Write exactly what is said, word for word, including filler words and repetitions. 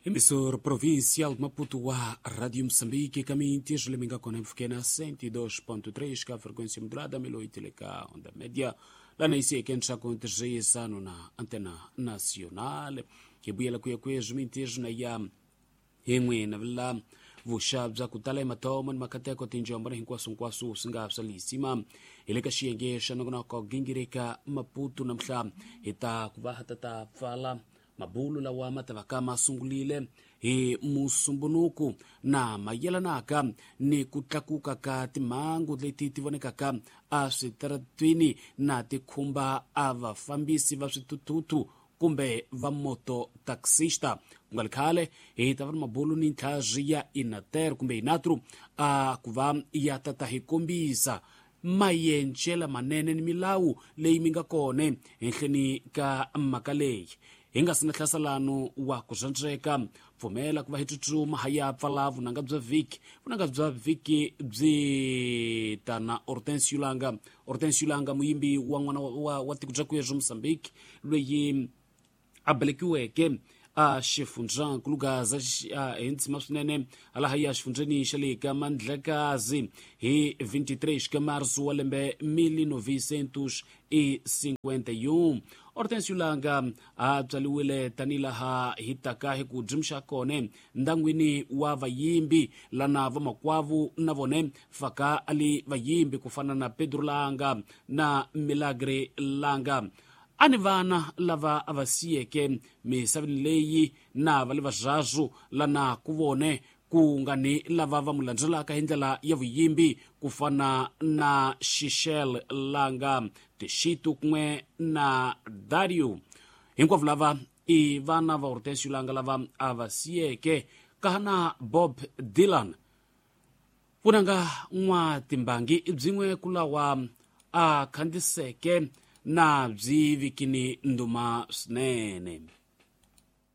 Emissor provincial de Maputo wa Rádio Moçambique, caminho Liminga com F Q na cento e dois ponto três, ka frequência modulada, mil e oito ka onda média. Lá na I C que com ano na antena nacional. Que buyela kuya kuya jumintejo na ya hin'we na vila vuxa bya ku tala emathomo ni makateko tinjombo na hinkwaswo-hinkwaswo swi nga swa lisima hi le ka xiyenge xa nongonoko gingirika Maputo. Namuntlha hi ta ku va ha ta ta pfala mabulu lawa ma ta va ka ma sungulile hi Musumbunuku na mayelanaka ni ku tlakuka ka timhangu leti ti vonekaka eswitaratwini na ti khumba a vafambisi va swithuthuthu kumbe va moto taxista. Ku nga ri khale hi ta va ni mabulu ni ntlhazi ya Inater kumbe Inatru a ku va ya tata hi kombisa mayencela manene ni milawu leyi mi nga kona henhleni ka mhaka leyi. Hi nga si na hlasalano wa ku zwandzeka, pfumela ku va hi tsutsuma ha ya pfala vunanga bya vhiki. Vunanga bya vhiki byi tana Hortensio Langa. Hortensio Langa, muyimbi wa n'wana wa, wa, wa tiko bya kwezwo Mozambique, loyi a belekiweke a xifundzankulu Gaza hi ndzima swinene halaha ya xifundzeni xa le ka Mandlakazi hi vinte e três ka março wa lembe mil novecentos e cinquenta e um. Hortensio Langa a tswaliwile tanihi laha hi taka hi ku dzimxa kone ndangwini wa vayimbi lana vamakwavu na vone faka ali vayimbi ku fana na Pedro Langa na Milagre Langa. A ni vana lava a va siyeke misaveni leyi na va le vazvazu lana ku vone ku nga ni lava va mu landzelaka hi ndlela ya vuyimbi ku fana na Xixel Langa, Tixitu kun'we na Dario. Hinkwavo lava i vana va Hortensio Langa lava a va siyeke kahana Bob Dylan. Vunanga n'wa timbangi byin'we ku lawa a khandziseke na byi vikini nduma swinene.